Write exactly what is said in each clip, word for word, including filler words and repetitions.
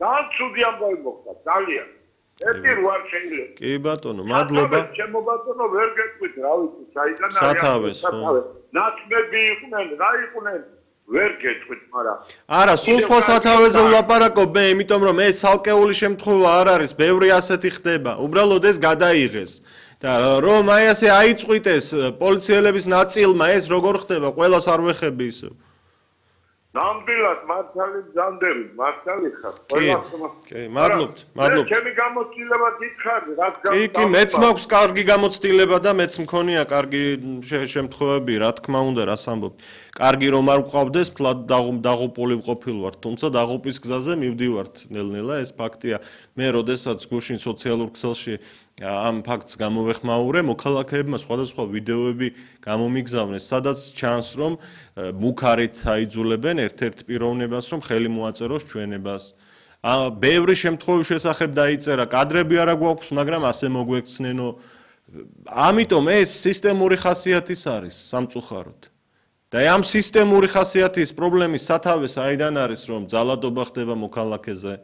ძალიან ცუდი ამბავი მოხდა, ძალიან. ერთი რვა შეიძლება. კი ბატონო, მადლობა. ჩემო ბატონო ვერ გეტყვით, რა ვიცი, საიდან არის. სათავეს, ხო. ნაცმები იყვნენ, რა იყვნენ? ვერ გეტყვით, მაგრამ არა, სულ სხვა სათავეზე ვლაპარაკობ მე, იმიტომ რომ ეს ცალკეული შემთხვევა არ არის, ბევრი ასეთი ხდება. უბრალოდ ეს გადაიღეს. და რომ აი ასე აიწყვიტეს პოლიციელების ნაწილმა, ეს როგორ ხდება? ყველას არ ვეხები ისე. ნამდვილად მართალი ძანდები, მართალი ხარ. ყველას კი, მადლობთ, მადლობთ. ჩემი გამოცდილება გითხარი, რაც კი, კი, მეც მაქვს კარგი გამოცდილება და მეც მქონია კარგი შემთხვევები, რა თქმა უნდა, რას ამბობ. კარგი რომ არ ვყავდეს, ფლად დაღუპული ვყოფილვართ, თუმცა დაღუპვის გზაზე მივდივართ ნელ-ნელა, ეს ფაქტია. მე როდესაც გუშინ სოციალურ ქსელში ამ ფაქტს გამოვეხმაურე, მოქალაქეებმა სხვადასხვა ვიდეოები გამომიგზავნეს, სადაც ჩანს, რომ მუქარით აიძულებენ ერთ-ერთ პიროვნებას, რომ ხელი მოაწეროს ჩვენებას. ბევრი შემთხვევის შესახებ დაიწერა, კადრები არა გვაქვს, მაგრამ ასე მოგვექცნენო. ამიტომ ეს სისტემური ხასიათის არის სამწუხაროდ. და ამ სისტემური ხასიათის პრობლემის სათავეს აიდან არის, რომ ძალადობა ხდება მოქალაქეზე.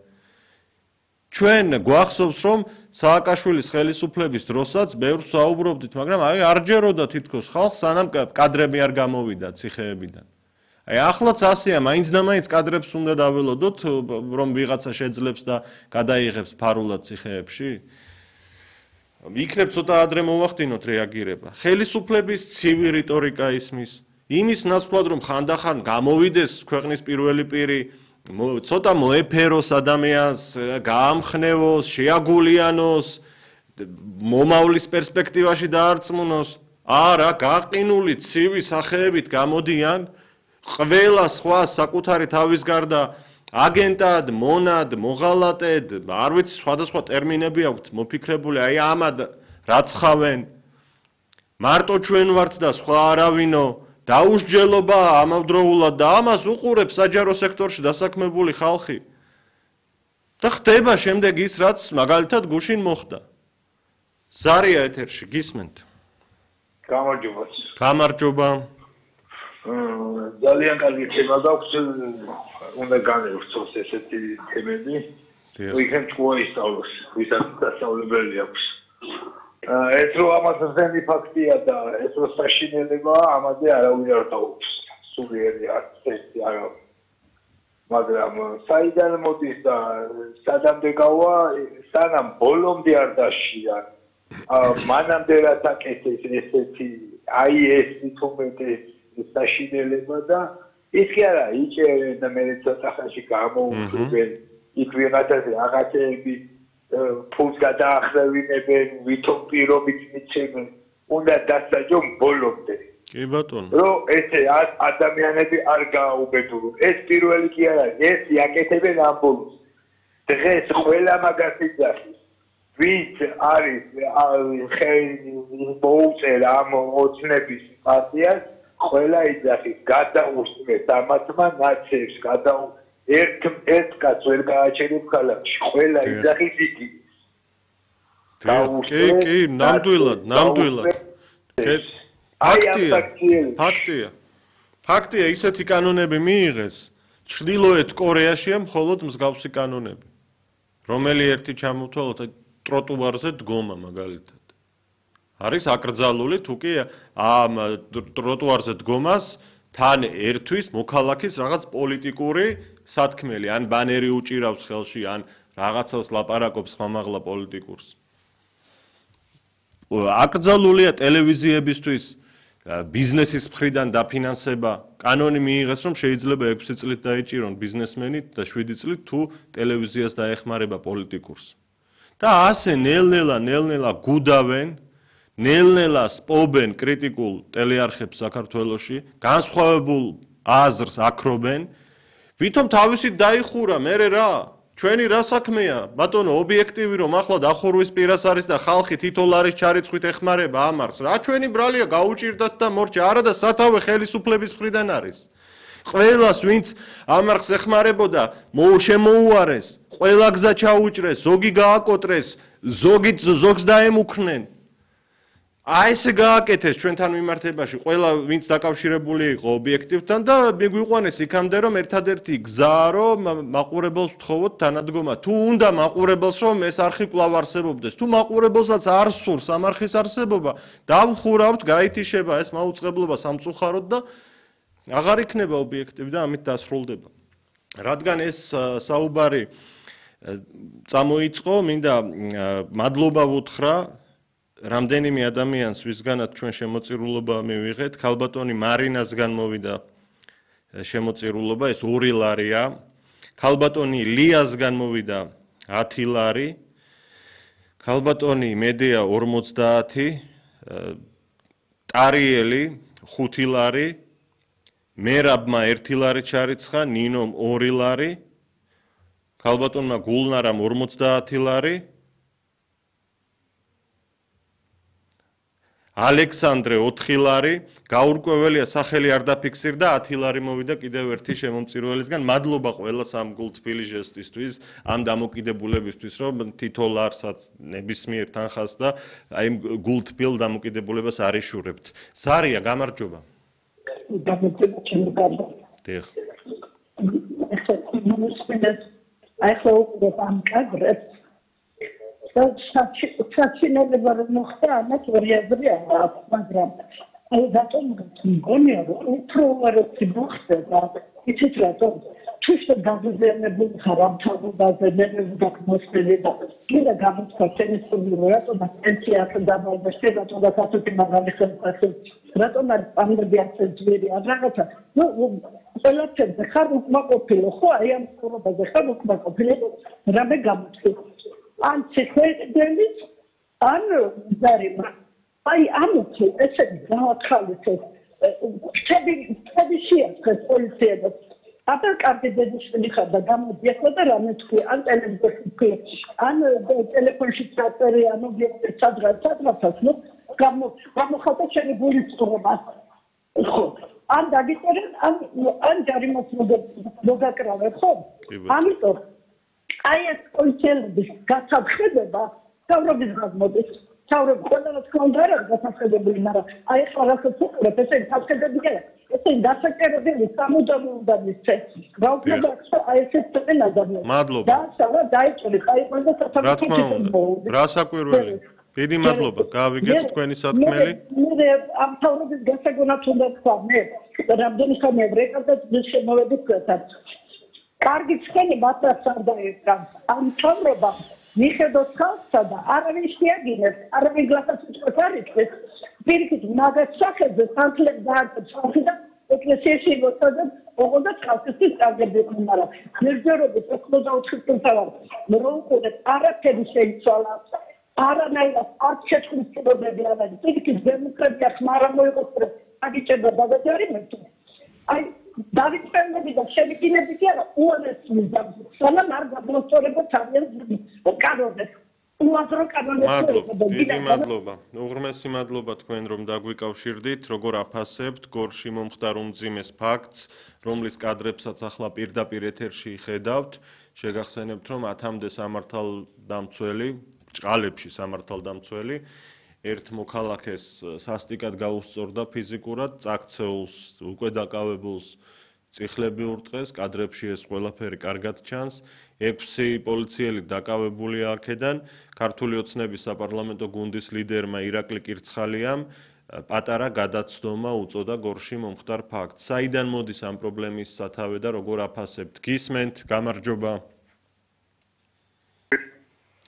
ჩვენ გვახსოვს, რომ სააკაშვილის ხელისუფლების დროსაც ბევრს საუბრობდით, მაგრამ აი არ ჯეროდა თითქოს ხალხს, სანამ კადრები არ გამოვიდა ციხეებიდან. აი ახლაც ასეა, მაინც და მაინც კადრებს უნდა დაველოდოთ, რომ ვიღაცა შეძლებს და გადაიღებს ფარულად ციხეებში. იქნებ ცოტა ადრე მოვახდინოთ რეაგირება. ხელისუფლების ცივი რიტორიკა ისმის, იმის ნაცვლად, რომ ხანდახან გამოვიდეს ქვეყნის პირველი პირი, ცოტა მოეფეროს ადამიანს, გაამხნევოს, შეაგულიანოს, მომავლის პერსპექტივაში დაარწმუნოს. არა, გაყინული ცივი სახეებით გამოდიან, ყველა სხვა საკუთარი თავის გარდა აგენტად, მონად, მოღალატედ, არ ვიცი, სხვადასხვა ტერმინები აქვთ მოფიქრებული, აი ამად რაცხავენ. მარტო ჩვენ ვართ და სხვა არავინო. დაუსჯელობა ამავდროულად და ამას უყურებს საჯარო სექტორში დასაქმებული ხალხი. და ხდება შემდეგ ის, რაც მაგალითად გუშინ მოხდა. ზარია ეთერში, გისმენთ. გამარჯობა. გამარჯობა. ძალიან კარგი თემა გაქვს, უნდა განვიხსოვს ესეთი თემები. ვიქნებ მოისწავლოს, ვისაც დასავლებელი აქვს. ეს რო ამას ზენი ფაქტია და ეს რო საშინელებაა, ამაზე არავინ არ დაუბრუნებს. სულიერი არც ერთი არა. მაგრამ საიდან მოდის და სადამდე გავა, სანამ ბოლომდე არ დაშიან. მანამდე რაც აკეთეს ესეთი აი ეს თუმეტე საშინელება და ის კი არა, იჭერენ და მე ცოტა ხანში გამოუშვებენ იქ ვიღაცაზე რაღაცეები ფულს გადაახრევინებენ, ვითომ პირობით მიცემენ, უნდა დასაჯონ ბოლომდე. კი ბატონო. რომ ესე ადამიანები არ გააუბედურონ. ეს პირველი კი არა, ეს იაკეთებენ ამ ბოლოს. დღეს ყველა მაგას იძახის. ვინც არის ხელი მოუწერ ამ ოცნების პარტიას, ყველა იძახის, გადაუსწრეთ ამათმა ნაცებს, გადაუ ერთ ერთ კაც ვერ გააჩერებ ქალაქში, ყველა იძახის იგი. კი, კი, ნამდვილად, ნამდვილად. აი ამ ფაქტია. ფაქტია. ფაქტია, ისეთი კანონები მიიღეს, ჩრდილოეთ კორეაშია მხოლოდ მსგავსი კანონები. რომელი ერთი ჩამოთვალოთ ტროტუარზე დგომა მაგალითად. არის აკრძალული, თუ კი ამ ტროტუარზე დგომას თან ერთვის მოქალაქის რაღაც პოლიტიკური სათქმელი, ან ბანერი უჭირავს ხელში, ან რაღაცას ლაპარაკობს ხმამაღლა პოლიტიკურს. აკრძალულია ტელევიზიებისთვის ბიზნესის მხრიდან დაფინანსება, კანონი მიიღეს, რომ შეიძლება ექვსი წლით დაიჭირონ ბიზნესმენი და შვიდი წლით თუ ტელევიზიას დაეხმარება პოლიტიკურს. და ასე ნელ-ნელა, ნელ-ნელა გუდავენ, ნელ-ნელა სპობენ კრიტიკულ ტელეარხებს საქართველოში, განსხვავებულ აზრს აქრობენ, ვითომ თავისით დაიხურა, მერე რა? ჩვენი რა საქმეა? ბატონო, ობიექტივი რომ ახლა დახურვის პირას არის და ხალხი თითოეულ არის ჩარიცხვით ეხმარება ამარხს. რა ჩვენი ბრალია გაუჭირდათ და მორჩა, არა და სათავე ხელისუფლების მხრიდან არის. ყველას ვინც ამარხს ეხმარებოდა, შემოუარეს, ყველა გზა ჩაუჭრეს, ზოგი გააკოტრეს, ზოგიც ზოგს დაემუქრნენ. აი ესე გააკეთეს ჩვენთან მიმართებაში ყველა ვინც დაკავშირებული იყო ობიექტივთან და მიგვიყვანეს იქამდე რომ ერთადერთი გზაა რომ მაყურებელს ვთხოვოთ თანადგომა თუ უნდა მაყურებელს რომ ეს არხი კვლავ არსებობდეს თუ მაყურებელსაც არ სურს ამ არხის არსებობა დავხურავთ გაითიშება ეს მაუწყებლობა სამწუხაროდ და აღარ იქნება ობიექტივი და ამით დასრულდება რადგან ეს საუბარი წამოიწყო მინდა მადლობა ვუთხრა რამდენიმე ადამიანს ვისგანაც ჩვენ შემოწირულობა მივიღეთ, ქალბატონი მარინასგან მოვიდა შემოწირულობა, ეს ორი ლარია. ქალბატონი ლიასგან მოვიდა ათი ლარი. ქალბატონი მედეა ორმოცდაათი, ტარიელი ხუთი ლარი, მერაბმა ერთი ლარი ჩარიცხა, ნინომ ორი ლარი. ქალბატონმა გულნარამ ორმოცდაათი ლარი. ალექსანდრე ოთხი ლარი, გაურკვეველია სახელი არ დაფიქსირდა, ათი ლარი მოვიდა კიდევ ერთი შემომწირულისგან. მადლობა ყველას ამ გულთბილი ჟესტისთვის, ამ დამოკიდებულებისთვის, რომ თითო ლარსაც ნებისმიერ თანხას და აი გულთბილ დამოკიდებულებას არ იშურებთ. სარია, გამარჯობა. გამარჯობა, ჩემო კარგო. დიახ. აი ხო ამ კადრებს საჩინელება რომ მოხდა ამათ ორი აზრი აქვს მაგრამ აი რატომ მგონია რომ უფრო უარესი მოხდება იცით რატომ თვითონ გაზრდებული ხარ ამ თავობაზე მე დაგმოსწრები და კიდე გამოცხა ტელესტუდიო რატომ პენსია ხდება და შეიძლება თუნდაც ასეთი მაგალი ხელფასი რატომ არ ამბები ასე ძვირი არ რაღაცა ნუ ყველაფერზე ხარ უკმაყოფილო ხო აი ამ ცხოვრებაზე ხარ უკმაყოფილო რამე გამოცხი ან ცეხვედელიც ან ზარიმა აი ამოწე ესე გაახალისეს ხები ხები შეახეს პოლიციას აბა კარგი დედიშვილი ხარ და გამოდიახო და რამე თქვი ან ტელევიზორში ან ტელეფონში წაწერი ან ობიექტი სადღაც სადღაც ნუ გამო გამოხატა შენი გულის ცხოვრება ხო ან დაგიწერენ ან ან ჯარიმას მოგაკრავებ ხო ამიტომ აი ეს პოლიციელების გასახედება თავრობის გაზმოდის თავრობ ყველანაირ კონდა რა გასახედებული მაგრამ აი ეს რაღაცა უყურებ ესე გასახედებია ესე გასახედებელი სამუდამო უნდა მისცეს რა უფრო აი ეს წელი ადამიანი მადლობა და საერთოდ დაიწყო აი ყველა საფრთხე რა საკვირველი დიდი მადლობა გავიგეთ თქვენი სათქმელი მე ამ თავრობის გასაგონად უნდა თქვა მე რამდენი ხანი ბრეკავდა შემოვედი თქვენთან კარგი ცხენი მასაც არ დაერგან ამ თავრობა მიხედოთ ხალხსა და არავინ შეაგინებს არავინ გლახას უწყოს არ იწეს პირიქით მაგას სახეზე სამთლებს დააწევს და ეკლესიაში მოწოდა ოღონდ ხალხისთვის წაგებდნენ მაგრამ მერჯერობით ოცდაოთხი წელს რომ უყურეთ არაფერი შეიცვალა არანაირად არ შეჭრის პირობები არის პირიქით დემოკრატია ხმარა მოიყოს აგიჭერდა დაგაჯერიმეთ აი დავიწყებდი და შევიკინებდი კი არა უარეს მიზა სანამ არ გამოსწორება თავიანთ კანონებს უაზრო კანონებს დიდი მადლობა უღრმესი მადლობა თქვენ რომ დაგვიკავშირდით როგორ აფასებთ გორში მომხდარ უმძიმეს ფაქტს რომლის კადრებსაც ახლა პირდაპირ ეთერში ხედავთ შეგახსენებთ რომ ათამდე სამართალდამცველი ჭყალებში სამართალდამცველი ერთ მოქალაქეს სასტიკად გაუსწორდა ფიზიკურად, წაქცეულს, უკვე დაკავებულს წიხლები ურტყეს, კადრებში ეს ყველაფერი კარგად ჩანს. ექვსი პოლიციელი დაკავებულია აქედან, ქართული ოცნების საპარლამენტო გუნდის ლიდერმა ირაკლი კირცხალიამ პატარა გადაცდომა უწოდა გორში მომხდარ ფაქტს. საიდან მოდის ამ პრობლემის სათავე და როგორ აფასებთ? გისმენთ, გამარჯობა.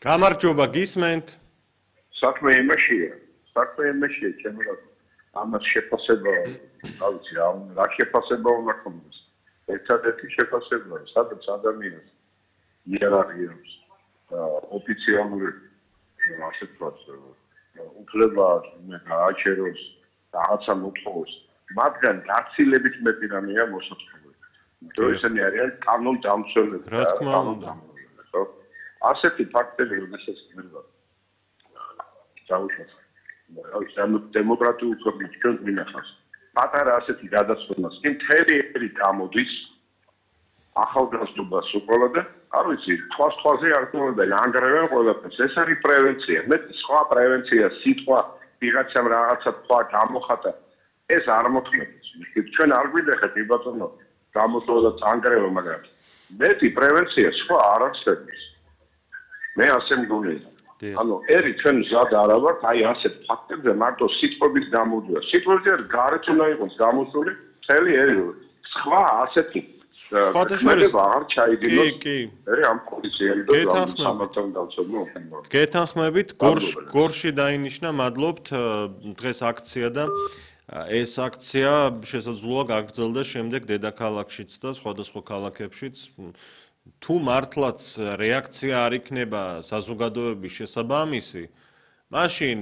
გამარჯობა, გისმენთ. საქმე იმაშია, საქმე იმაშია, ჩემო რა. ამას შეფასება, რა ვიცი, რა შეფასება უნდა ქონდეს. ერთადერთი შეფასება, სადაც ადამიანს იერარქიას ოფიციალური ასე ვთქვათ, უფლება გააჩეროს, რაღაცა მოთხოვოს, მაგრამ გაცილებით მეტი რამეა მოსაწყობი. თუ ესენი არიან კანონდამცველები, რა თქმა უნდა. ხო? ასეთი ფაქტები როდესაც გინდა დავუშვათ დემოკრატიულ ქვეყნებში ჩვენ გვინახავს პატარა ასეთი გადაცვლის კი მთელი ერი გამოდის ახალგაზრდობას უყოლა და არ ვიცი თვალს თვალზე არ თხოვდა ანგრევენ ყველაფერს ეს არის პრევენცია მე სხვა პრევენცია სიტყვა ვიღაცამ რაღაცა თქვა გამოხატა ეს არ მოხდეს ჩვენ არ გვიდეხეთ იბატონო გამოსვლა და წანგრევა მაგრამ მეტი პრევენცია სხვა არ არსებობს მე ასე მგონია ანუ ერი ჩვენ ზად არა ვართ აი ასეთ ფაქტებზე მარტო სიტყვების გამოძიება სიტყვებზე გარეთ უნდა იყოს გამოსული მთელი ერი სხვა ასეთი სხვადასხვა არ ჩაიდინოს კი კი ერი ამ პოლიციელი და სამართალ დავწოდნო გეთანხმებით გორში გორში დაინიშნა მადლობთ დღეს აქცია და ეს აქცია შესაძლოა გაგრძელდეს შემდეგ დედაქალაქშიც და სხვადასხვა ქალაქებშიც თუ მართლაც რეაქცია არ იქნება საზოგადოების შესაბამისი მაშინ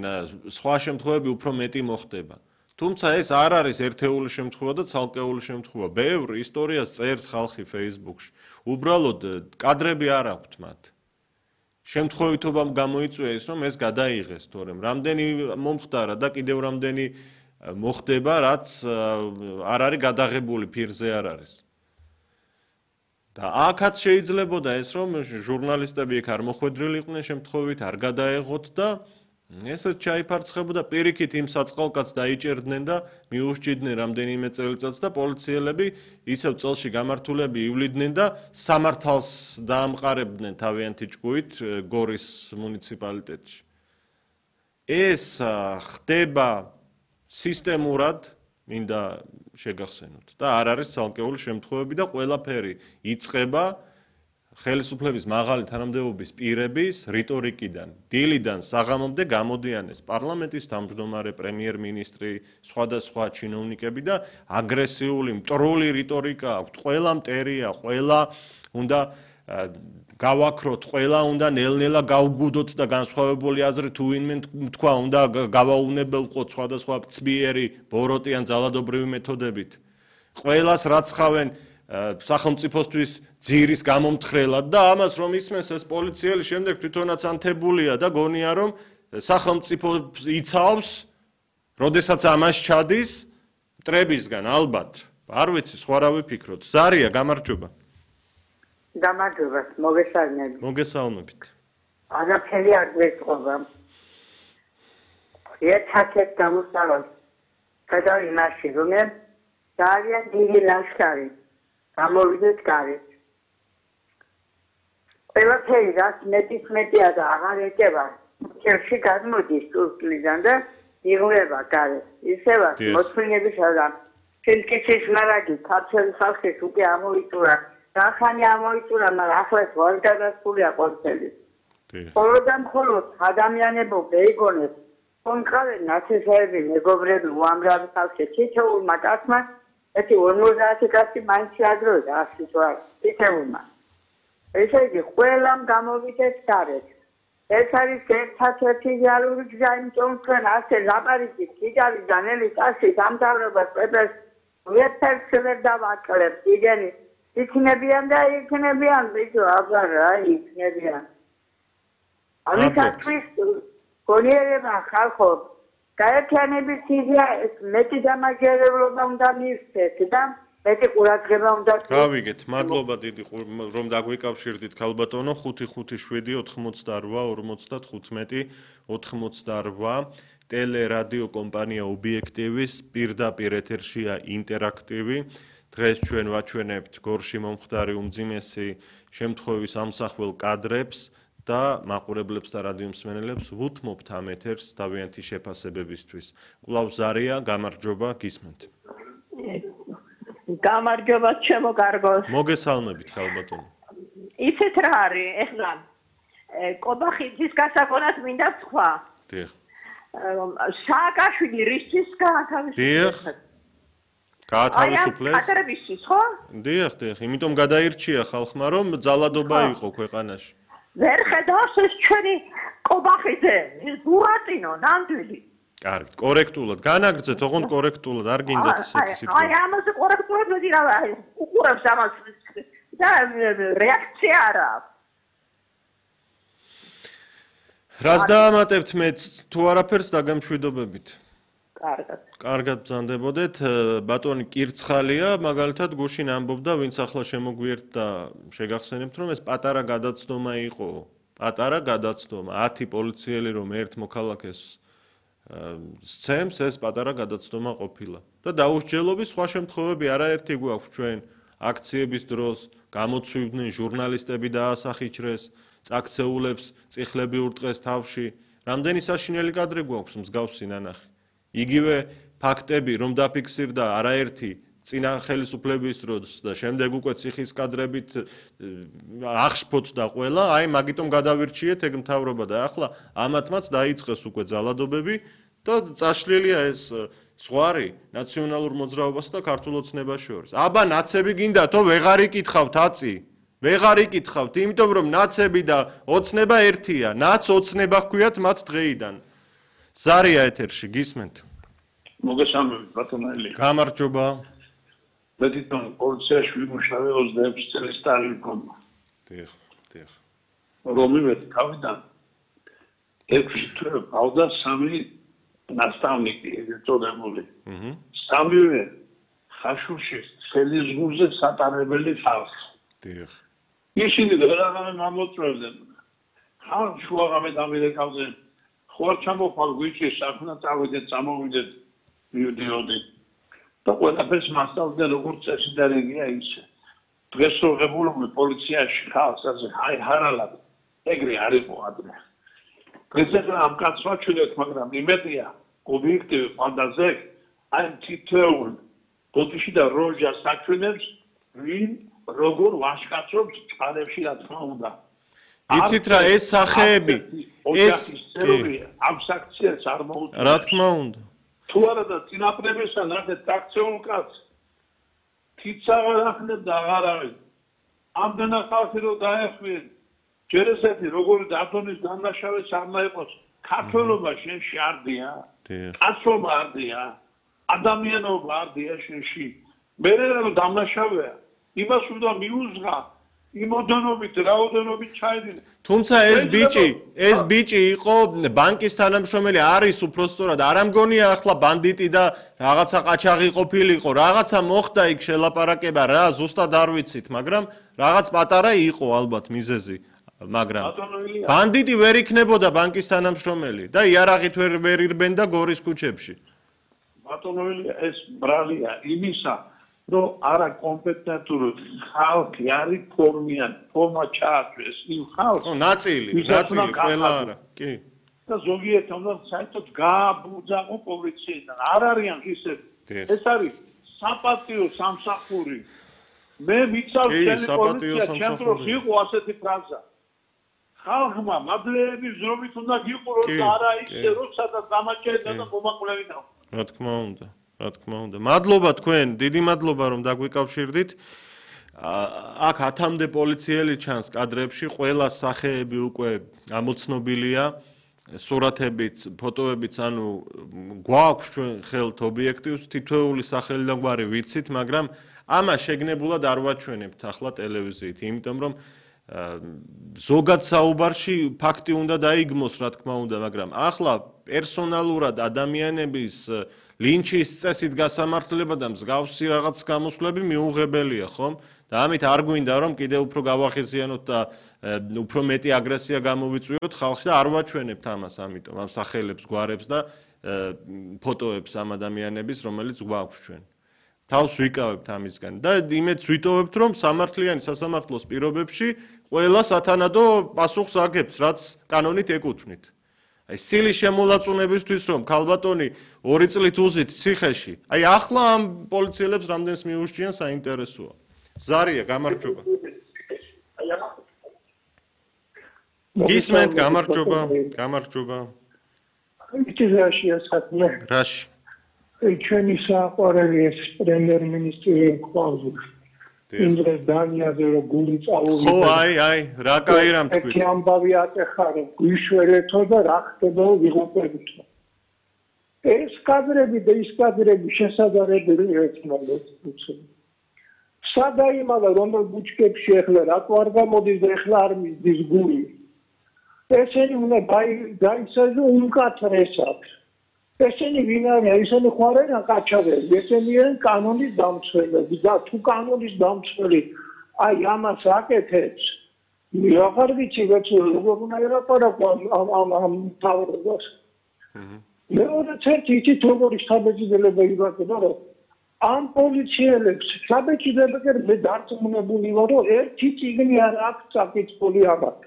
სხვა შემთხვევები უფრო მეტი მოხდება თუმცა ეს არ არის ერთეული შემთხვევა და ცალკეული შემთხვევა ბევრ ისტორიას წერს ხალხი Facebook-ში უბრალოდ კადრები არ აქვთ მათ შემთხვევითობამ გამოიწვია ის რომ ეს გადაიღეს თორემ რამდენი მომხდარა და კიდევ რამდენი მოხდება რაც არ არის გადაღებული ფირზე არ არის და აქაც შეიძლებოდა ეს რომ ჟურნალისტები იქ არ მოხვედრილი იყვნენ შემთხვევით არ გადაეღოთ და ესეც ჩაიფარცხებოდა პირიქით იმ საწყალკაც დაიჭერდნენ და მიუსჭიდნენ რამდენიმე წელიწადს და პოლიციელები ისევ წელში გამართულები ივლიდნენ და სამართალს დაამყარებდნენ თავიანთი ჭკუით გორის მუნიციპალიტეტში ეს ხდება სისტემურად მინდა შეგახსენოთ და არ არის ცალკეული შემთხვევები და ყველაფერი იწყება ხელისუფლების მაღალი თანამდებობის პირების რიტორიკიდან დილიდან საღამომდე გამოდიან ეს პარლამენტის თავმჯდომარე პრემიერ-მინისტრი სხვადასხვა ჩინოვნიკები და აგრესიული მტრული რიტორიკა აქვთ ყველა მტერია ყველა უნდა გავაქროთ ყველა უნდა ნელ-ნელა გავგუდოთ და განსხვავებული აზრი თუ ვინმე თქვა უნდა გავაუნებელყოთ სხვადასხვა ცბიერი ბოროტი ან ძალადობრივი მეთოდებით ყველას რაც ხავენ სახელმწიფოსთვის ძირის გამომთხრელად და ამას რომ ისმენს ეს პოლიციელი შემდეგ თვითონაც ანთებულია და გონია რომ სახელმწიფო იცავს როდესაც ამას ჩადის მტრებისგან ალბათ არ ვიცი სხვა რა ვიფიქროთ ზარია გამარჯობა გამარჯობა მოგესალმებით მოგესალმებით არაფერი არ გვეწყობა ერთად გამოსავალ გადავი მასში რომ ძალიან დიდი ლაშქარი გამოვიდეთ გარეთ ყველაფერი რაც მეტის მეტია და აღარ ეკება ჩერში გადმოდის ტურკიდან და იღლება გარეთ ისევაც მოთმინების адам ფილკიცის მარაგი ქართული ხალხის უკვე ამოიწურა რახანი ამოიწურა მაგრამ ახლაც ვარ გადასულია ყველაფერი ხოლმე მხოლოდ ადამიანებო ბეიგონებს კონკრეტულად ნაცისები მეგობრები უამრავი ხალხი თითოეულმა კაცმა ეთი ორმოცდაათი კაცი მაინც შეაგროვდა ასი თვარ თითოეულმა ესე იგი ყველამ გამოვიდეთ გარეთ ეს არის ერთადერთი რეალური გზა იმიტომ რომ ასე ლაპარაკით კიდევიდან ელი კაცი დამთავრებას პეპეს ვერცერთ ვერ დავაკლებთ იგენი იქნებიან და იქნებიან ბიჭო აბა რა იქნებიან ამიტომ გონიერება ხალხო გაერთიანების იდეა მეტი დამაჯერებლობა უნდა მიიღეთ და მეტი ყურადღება უნდა გავიგეთ მადლობა დიდი რომ დაგვიკავშირდით ქალბატონო ხუთი ხუთი შვიდი ოთხმოცდაორვა ორმოცდათხუთმეტი ოთხმოცდაორვა ტელერადიო კომპანია ობიექტივის პირდაპირ ეთერშია ინტერაქტივი დღეს ჩვენ ვაჩვენებთ გორში მომხდარი უმძიმესი შემთხვევის ამსახველ კადრებს და მაყურებლებს და რადიო მსმენელებს ვუთმობთ ამ ეთერს თავიანთი შეფასებებისთვის. კვლავ ზარია, გამარჯობა, გისმენთ. გამარჯობა ჩემო კარგოს. მოგესალმებით, ქალბატონო. ისეთ რა არის, ეხლა კობახიძის გასაგონად მინდა თქვა. დიახ. სააკაშვილი რისთვის გაათავისუფლეს? დიახ. გაათავისუფლეს? აი, კადრებისთვის, ხო? დიახ, დიახ, იმიტომ გადაირჩია ხალხმა, რომ ძალადობა იყო ქვეყანაში. ვერ ხედავს ეს ჩვენი კობახიძე, ბურატინო, ნამდვილი. კარგი, კორექტულად, განაგრძეთ, ოღონდ კორექტულად, არ გინდათ ისეთი სიტყვა. აი, ამაზე კორექტულად მედი რა, უყურებს ამას და რეაქცია არა აქვს. რას დაამატებთ მეც თუ არაფერს დაგემშვიდობებით? კარგად. კარგად ბრძანდებოდეთ, ბატონი კირცხალია, მაგალითად გუშინ ამბობდა, ვინც ახლა შემოგვიერთდა, შეგახსენებთ, რომ ეს პატარა გადაცდომა იყო. პატარა გადაცდომა, ათი პოლიციელი რომ ერთ მოქალაქეს სცემს ეს პატარა გადაცდომა ყოფილა. და დაუსჯელობის სხვა შემთხვევები არაერთი გვაქვს ჩვენ აქციების დროს, გამოცვივდნენ ჟურნალისტები დაასახიჩრეს, წაქცეულებს წიხლები ურტყეს თავში. რამდენი საშინელი კადრი გვაქვს მსგავსი ნანახი. იგივე ფაქტები, რომ დაფიქსირდა არაერთი წინა ხელისუფლების დროს და შემდეგ უკვე ციხის კადრებით აღშფოთდა ყველა, აი მაგიტომ გადავირჩიეთ ეგ მთავრობა და ახლა ამათმაც დაიწყეს უკვე ძალადობები და წაშლილია ეს ზღვარი ნაციონალურ მოძრაობასა და ქართულ ოცნებას შორის. აბა ნაცები გინდათო ვეღარ იკითხავთ აწი. ვეღარ იკითხავთ, იმიტომ რომ ნაცები და ოცნება ერთია. ნაც ოცნება ჰქვიათ მათ დღეიდან. ზარია ეთერში გისმენთ. მოგესალმებით ბატონო ელი. გამარჯობა. მე თვითონ პოლიციაში ვიმუშავე ოცდაექვსი წელი სტაჟი მქონდა. დიახ, დიახ. რომივე თავიდან ექვსი თვე გავდა სამი ნასწავლნიკი ეწოდებული. აჰა. სამივე ხაშურში სელიზგურზე სატარებელი ხალხი. დიახ. ისინი რაღაცა გამოწვევდნენ. ხან შუაღამე დამირეკავდნენ. ხო არ ჩამოყალ გვიჩი საქმე წავიდეთ, წამოვიდეთ მივდიოდი. და ყველაფერს მასწავლდნენ როგორც წესი და რეგია ისე. დღეს რო ღებულობი პოლიციაში ხალხს ასე აი ჰარალად ეგრე არ იყო ადრე. დღეს ამ კაცს ვაჩვენეთ, მაგრამ იმედია ობიექტივი ფანტაზე აი თითოეულ ბოდიში და როჟას საჩვენებს ვინ როგორ ვაშკაცობს წყარებში რა თქმა უნდა. იცით რა ეს სახეები ეს ამ საქციელს არ მოუწევს. რა თქმა უნდა. თუ არა და წინაპრებისა ნახეთ აქციულ კაცს თიცა აღარ ახნებ და აღარ არის. ამდენა ხალხი რო დაეხმიან ჯერ ესეთი როგორი დათონის დამნაშავეც არ მაიყოს ქართველობა შენში არდია. კაცობა არდია. ადამიანობა არდია შენში. მე რა დამნაშავეა იმას უნდა მიუძღა იმოდენობით რაოდენობით ჩაიდინე. თუმცა ეს ბიჭი, ეს ბიჭი იყო ბანკის თანამშრომელი, არის უბრალოდ არ ამგონია ახლა ბანდიტი და რაღაცა ყაჩაღი ყოფილიყო, რაღაცა მოხდა იქ შელაპარაკება რა, ზუსტად არ ვიცით, მაგრამ რაღაც პატარა იყო ალბათ მიზეზი, მაგრამ ბანდიტი ვერ იქნებოდა ბანკის თანამშრომელი და იარაღით ვერ ვერ ირბენდა გორის ქუჩებში. ბატონო ეს ბრალია იმისა რომ არა კომპეტენტური ხალხი არის ფორმიან, ფორმა ჩააწვეს იმ ხალხს. ო ნაწილი, ნაწილი ყველა არა, კი. და ზოგიერთი უნდა საერთოდ გააბუძაღო პოლიციიდან. არ არიან ისე. ეს არის საპატიო სამსახური. მე მიცავს შენი პოლიცია, ჩემთვის იყო ასეთი ფრაზა. ხალხმა მადლეების ზრობით უნდა გიყუროს და არა ისე, როცა და დამაჭერდა და მომაკვლებინა. რა თქმა უნდა. რა თქმა უნდა. მადლობა თქვენ, დიდი მადლობა რომ დაგვიკავშირდით. აქ ათამდე პოლიციელი ჩანს კადრებში, ყველა სახეები უკვე ამოცნობილია, სურათებით, ფოტოებით, ანუ გვაქვს ჩვენ ხელთ ობიექტივს, თითოეული სახელი და გვარი ვიცით, მაგრამ ამას შეგნებულად არ ვაჩვენებთ ახლა ტელევიზიით, იმიტომ რომ ზოგად საუბარში ფაქტი უნდა დაიგმოს, რა თქმა უნდა, მაგრამ ახლა პერსონალურად ადამიანების ლინჩის წესით გასამართლება და მსგავსი რაღაც გამოსვლები მიუღებელია, ხომ? და ამით არ გვინდა რომ კიდევ უფრო გავახიზიანოთ და უფრო მეტი აგრესია გამოვიწვიოთ ხალხში და არ ვაჩვენებთ ამას, ამიტომ ამ სახელებს, გვარებს და ფოტოებს ამ ადამიანების, რომელიც გვაქვს ჩვენ. თავს ვიკავებთ ამისგან და იმედს ვიტოვებთ, რომ სამართლიანი სასამართლოს პირობებში ყველა სათანადო პასუხს აგებს, რაც კანონით ეკუთვნით. აი სილის შემოლაწუნებისთვის რომ ქალბატონი ორი წლით უზით ციხეში, აი ახლა ამ პოლიციელებს რამდენს მიუშჩიან საინტერესოა. ზარია, გამარჯობა. გისმენთ, გამარჯობა, გამარჯობა. იცი ასათმე. რაში? ჩვენი საყვარელი ეს პრემიერ-მინისტრი ყავს. იმდრეს დანიაზე რომ გული წავოვიდა. ხო, აი, აი, რა კაი რამ თქვი. ეს ამბავი ატეხარო, გვიშვერეთო და რა ხდება ვიღუპებითო. ეს კადრები და ის კადრები შესაძლებელი ერთმანეთს უცნობ. სადაიმალა რომელ ბუჩქებში ახლა რატო არ გამოდის და ახლა არ მისდის გული. ესენი უნდა დაიცაჯო უმკაცრესად. ესენი ვინ არიან? ესენი ხო არ არიან ყაჩაღები, ესენი არიან კანონის დამცველები და თუ კანონის დამცველი აი ამას აკეთებს, აღარ ვიცი როგორც როგორ უნდა ელაპარაკო ამ ამ ამ თავრობას. მეორეც ერთი იცით როგორი საბეჭდილება იბადება რომ ამ პოლიციელებს საბეჭდილება მე დარწმუნებული ვარ რომ ერთი წიგნი არ აქვს წაკითხული ამათ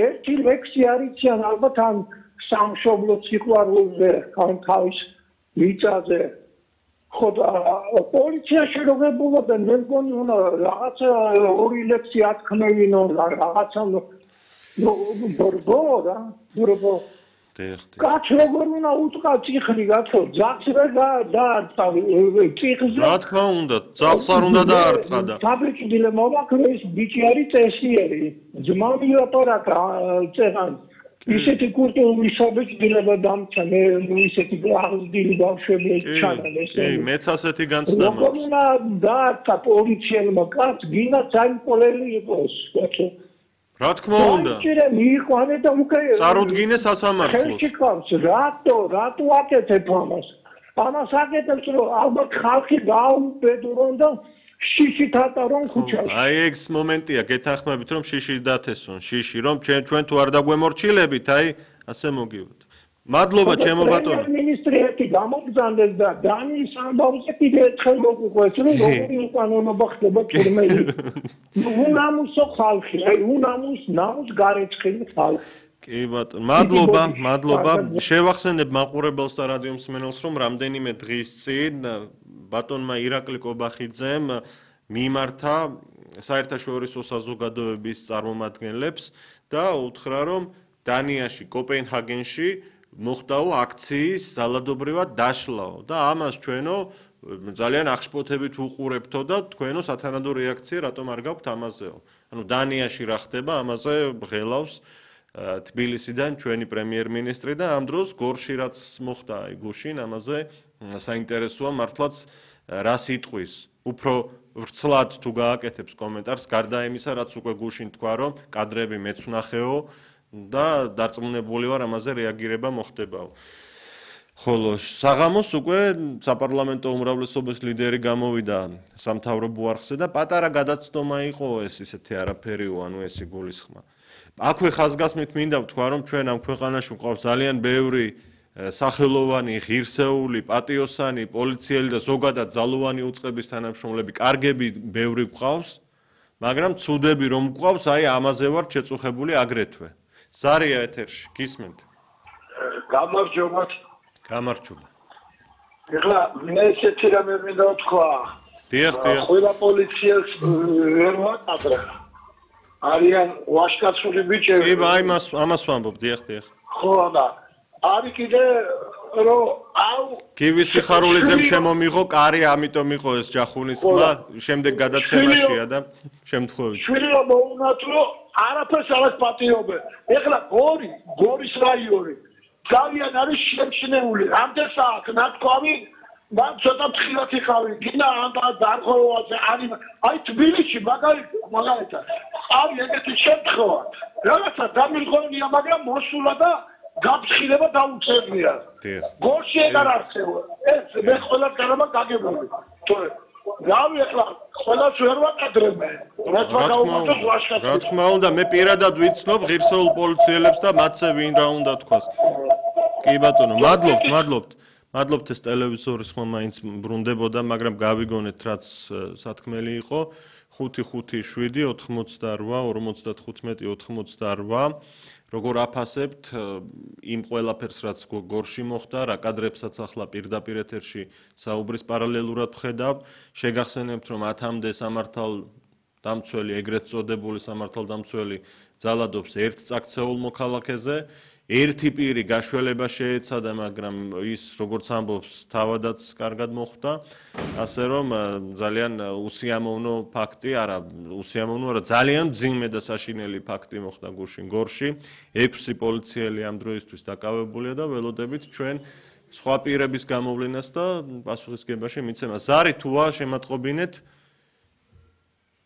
ერთი ლექსი არ იციან ალბათ ამ სამშობლო სიყვარულზე ან თავის მიწაზე ხო პოლიციაში როგორებულობენ მე მგონი უნდა რაღაცა ორი ლექსი ათქმევინო რაღაცა ბორბო რა ბორბო კაც როგორ უნდა უტყა ციხნი გათო ძახს რა დაარტყა ციხზე რა თქმა უნდა ძახს არ უნდა დაარტყა და საბეჭდილება მოვაქრე ის ბიჭი არის წესიერი ძმა მილაპარაკა წერან ისეთი კულტურული საბეჭდილება დამცა მე ისეთი აღზრდილი ბავშვები ჩანალეს კი მეც ასეთი განცდა მაქვს როგორ უნდა დაარტყა პოლიციელმა კაც გინდა საიმპოლელი იყოს გათო რა თქმა უნდა ჭირე მიიყვანე და უკვე წარუდგინე სასამართლოს ხელში ყავს რატო რატო აკეთებ ამას ამას აკეთებს რომ ალბათ ხალხი გაუბედურონ და შიში თატარონ ქუჩაში აი ეს მომენტია გეთანხმებით რომ შიში დათესონ შიში რომ ჩვენ ჩვენ თუ არ დაგვემორჩილებით აი ასე მოგივდეთ მადლობა ჩემო ბატონო მინისტრი ერთი გამოგზავნეს და დანიის ამბავზე კიდე ერთხელ მოგუყვეს რომ როგორი უკანონობა ხდება თურმელი უნამუსო ხალხი აი უნამუს ნამუს გარეცხილი ხალხი კი ბატონო მადლობა მადლობა შევახსენებ მაყურებელს და რადიო მსმენელს რომ რამდენიმე დღის წინ ბატონმა ირაკლი კობახიძემ მიმართა საერთაშორისო საზოგადოების წარმომადგენლებს და უთხრა რომ დანიაში კოპენჰაგენში მოხდაო აქციის ძალადობრივად დაშლაო და ამას ჩვენო ძალიან აღშფოთებით უყურებთო და თქვენო სათანადო რეაქცია რატომ არ გაქვთ ამაზეო ანუ დანიაში რა ხდება ამაზე ღელავს თბილისიდან ჩვენი პრემიერ-მინისტრი და ამ დროს გორში რაც მოხდა აი გუშინ ამაზე საინტერესოა მართლაც რა სიტყვის უფრო ვრცლად თუ გააკეთებს კომენტარს გარდა იმისა რაც უკვე გუშინ თქვა რომ კადრები მეც ვნახეო და დარწმუნებული ვარ ამაზე რეაგირება მოხდებაო. ხოლო საღამოს უკვე საპარლამენტო უმრავლესობის ლიდერი გამოვიდა სამთავრობო არხზე და პატარა გადაცდომა იყო ეს ისეთი არაფერიო, ანუ ეს იგულისხმა. აქვე ხაზგასმით მინდა ვთქვა რომ ჩვენ ამ ქვეყანაში გვყავს ძალიან ბევრი სახელოვანი, ღირსეული, პატიოსანი, პოლიციელი და ზოგადად ძალოვანი უწყების თანამშრომლები, კარგები ბევრი გვყავს, მაგრამ ცუდები რომ გვყავს, აი ამაზე ვარ შეწუხებული აგრეთვე. ზარია ეთერში, გისმენთ. გამარჯობათ. გამარჯობა. ეხლა მე ესეთი რამე მინდა ვთქვა. დიახ, დიახ. ყველა პოლიციელს ვერ ვაკადრე. არიან ვაშკაცული ბიჭები. კი, აი მას ამას ვამბობ, დიახ, დიახ. ხო და არის კიდე რომ აუ კივი სიხარულიძემ შემომიღო კარი, ამიტომ იყო ეს ჯახუნის ხმა, შემდეგ გადაცემაშია და შემთხვევით. შვილია მოუნათ რომ არაფერს არ აკპატიობენ. ეხლა გორი, გორის რაიონი ძალიან არის შემჩნეული. რამდენსა აქ ნათქვამი, მან ცოტა თხილად იყავი. გინა ამ დარღვევაზე არის. აი თბილისში მაგალითად, მაგალითად არის ეგეთი შემთხვევა. რაღაცა დამირღვევნია, მაგრამ მოსულა და გაფრთხილება დაუწევია. გორში ეგ არ არსებობს. ეს მე ყველას გარება გაგებული. თორე რავი ეხლა ყველას ვერ ვაკადრებე. რაც ვაკავობთ ვაშკაცებს. რა თქმა უნდა, მე პირადად ვიცნობ ღირსეულ პოლიციელებს და მათზე ვინ რა უნდა თქვას. კი ბატონო, მადლობთ, მადლობთ. მადლობთ ეს ტელევიზორის ხმა მაინც ბრუნდებოდა, მაგრამ გავიგონეთ რაც სათქმელი იყო. ხუთი ხუთი შვიდი ოთხმოცდაორვა ორმოცდათხუთმეტი ოთხმოცდაორვა როგორ აფასებთ იმ ყველაფერს რაც გორში მოხდა რა კადრებსაც ახლა პირდაპირ ეთერში საუბრის პარალელურად ვხედავ შეგახსენებთ რომ ათამდე სამართალ დამცველი ეგრეთ წოდებული სამართალ დამცველი ძალადობს ერთ წაქცეულ მოქალაქეზე ერთი პირი გაშველება შეეცადა, მაგრამ ის როგორც ამბობს, თავადაც კარგად მოხვდა, ასე რომ ძალიან უსიამოვნო ფაქტი, არა, უსიამოვნო, არა, ძალიან მძიმე და საშინელი ფაქტი მოხდა გუშინ გორში. ექვსი პოლიციელი ამ დროისთვის დაკავებულია და ველოდებით ჩვენ სხვა პირების გამოვლენას და პასუხისგებაში მიცემას. ზარი თუა შემატყობინეთ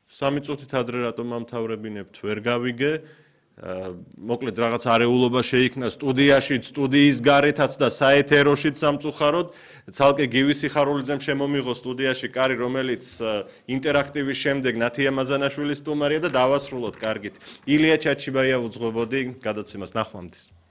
სამი წუთით ადრე რატომ ამთავრებინებთ, ვერ გავიგე. მოკლედ რაღაც არეულობა შეიქმნა სტუდიაში, სტუდიის გარეთაც და საეთეროშიც სამწუხაროდ. ცალკე გივი სიხარულიძემ შემომიღო სტუდიაში კარი, რომელიც ინტერაქტივის შემდეგ ნათია მაზანაშვილის სტუმარია და დავასრულოთ კარგით. ილია ჩაჩიბაია უძღვებოდი გადაცემას ნახვამდის.